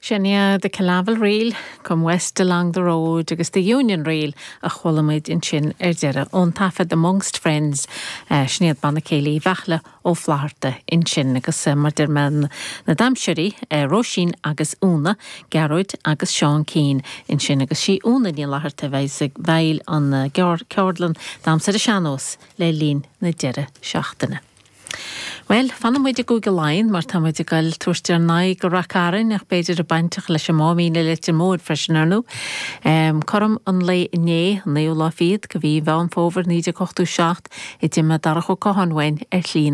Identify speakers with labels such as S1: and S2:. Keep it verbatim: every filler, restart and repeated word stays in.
S1: Sin é the Killavil Reel come west along the road agus the Union Reel a chuala muid ansin ar deireadh ón taifead Amongst Friends uh, sin iad Banna Céilí Mheachle Ó Flatharta ansin agus uh, mar deir mé na damhsóirí uh, Róisín agus Úna, Gearóid agus Seán Keane ansin agus sí Úna Ní Fhlatharta bheidh ag veil an uh, ceardlann damhsa ar an sean-nós le linn na deireadh seachtaine. Well, fanfaidh muid i gCúige Laighean mar tá muid ag dul tabhairt ár n-aghaidh go Ráth Cairn ach b'fhéidir a bainteach leis an Máimín i Leitir Móir freisin ar ndóigh. Um, Cothrom an lae inné an naoú lá fichead de mhí Mheán Fómhair naoi déag ochtó seacht a d'imigh Darach Ó Catháin uainn ar shlí